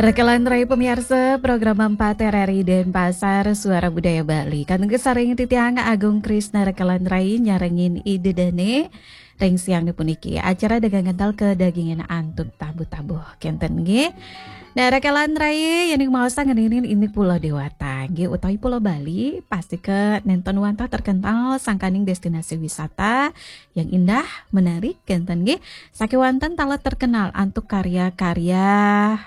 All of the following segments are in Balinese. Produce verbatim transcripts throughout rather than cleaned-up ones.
Rekelan rai pemiarsa program empat R R I Denpasar, Suara Budaya Bali. Kantun sareng titiang Agung Krisna Rekelan rai nyarengin Ida Dane ring siang puniki. Acara Dagang Kental Kedagingin antuk tabuh-tabuh kenten nggih. Nah, Rekelan rai yen ing maosan ngeninin indik Pulau Dewata nggih utawi Pulau Bali, pastika nenten wantah terkenal sangkaning destinasi wisata yang indah, menarik kenten nggih. Sakewanten taler terkenal antuk karya-karya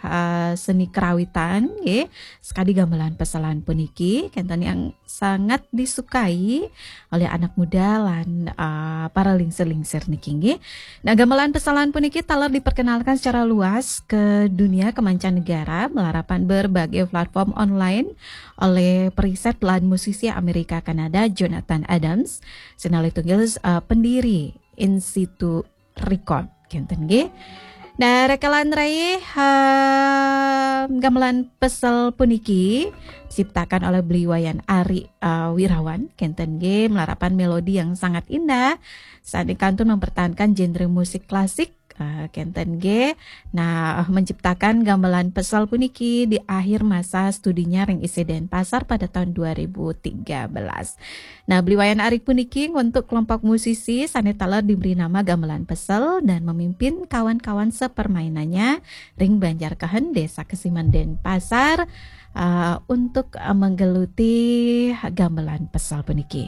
eh, seni kerawitan nggih. Sekadi gamelan peselan puniki kenten yang sangat disukai oleh anak muda lan eh, para lingsir-lingsir niki nggih. Nah, gamelan peselan puniki taler diperkenalkan secara luas ke dunia, ke mancanegara, melarapan berbagai platform online oleh periset lan musisi Amerika Kanada Jonathan Adams, sinalih tunggil eh, pendiri Institu Record kenten nggih. Nah, Rekelan rai eh, gamelan pesel puniki diciptakan oleh Beli Wayan Ari eh, Wirawan kenten nggih, melarapan melodi yang sangat indah. Saat kantun mempertahankan genre musik klasik eh, kenten nggih. Nah, menciptakan gamelan pesel puniki di akhir masa studinya ring I C Denpasar pada tahun dua ribu tiga belas. Nah, Beli Wayan Ari puniki untuk kelompok musisi sane taler diberi nama Gamelan Pesel dan memimpin kawan-kawan sepermainannya ring Banjar Kehen, Desa Kesiman, Denpasar eh, untuk eh, menggeluti gamelan pesel puniki.